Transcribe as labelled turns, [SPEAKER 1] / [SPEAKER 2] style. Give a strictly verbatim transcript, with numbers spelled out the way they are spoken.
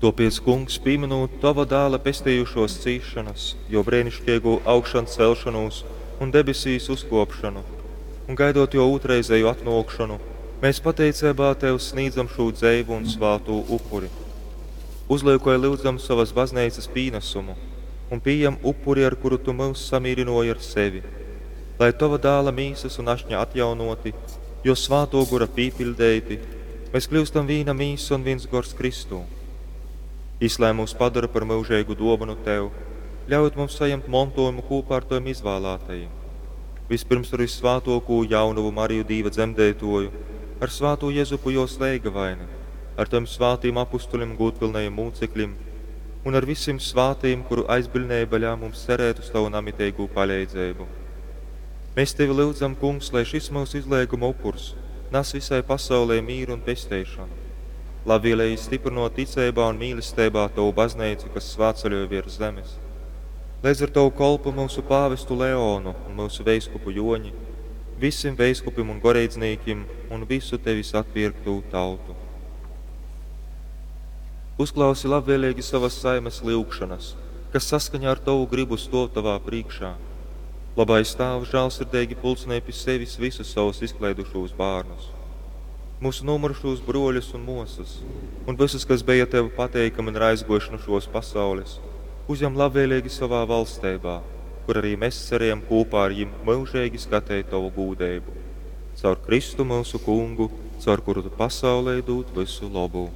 [SPEAKER 1] Tōpēc, Kungs, pīmynūt Tova Dāla pestejušōs cīsšonas, Jō breiniškeigū augšancelšonūs un debesīs uzkōpšonu, un gaidot Jō ūtrreizeju atnōkšonu, mēs pateiceibā Tev snīdzam šū dzeivu un svātū upuri. Uzlyukoj, lyudzam, sovas Bazneicas pīnasumu un pījem upuri, ar kuru Tu myus samīrynōji ar sevi. Lai, Tova Dāla Mīsas un Ašņa atjaunōti, Jō Svātō Gora pīpiļdeiti, mes kļyustam vīna mīsa un vins gors Kristū. Jys lai myus padora par myužeigu dōvonu Tev, ļaujūt mums sajemt montōjumu kūpā ar Tovim izvālātajim, vyspyrms ar vyssvātōkū Jaunovu Mariju Dīva Dzemdeitōju, ar svātū Jezupu Jōs leigavaini, ar Tovim svātajim apustulim un gūdpylnajim mūcekļim, un ar visim svātajim, kuru aizbiļneiba ļaun mums cerēt uz Tovu namiteigū paleidzeibu. Mes Tevi lyudzam, Kungs, lai šys myusu izleiguma upurs nas vysai pasaulei mīru un pesteišonu. Labvieleigi styprynōt ticeibā un mīlesteibā Tovu Bazneicu, kas svātceļoj vērs zemes. Leidz ar Tovu kolpu myusu pāvestu Leonu un myusu veiskupu Jōņi, visim veiskupim un goreidznīkim un vysu Tevis atpierktū tautu. Uzklausi labvēleigi sovas saimes lyugšonas, kas saskaņā ar Tovu grybu stōv Tovā prīškā. Lobais Tāvs, žālsirdeigi pulcynoj pi sevis vysus sovus izkleidušūs bārnus, myusu nūmyrušūs brōļus un mōsas, un vysus, kas beja Tev pateikami un ir aizgōjuši nu šōs pasaules, uzjam labvēleigi sovā valsteibā, kur ari mes cerejam kūpā ar jim myužeigi skateit Tovu gūdeibu. Caur Kristu, myusu Kungu, caur kuru Tu pasaulei dūd vysu lobu.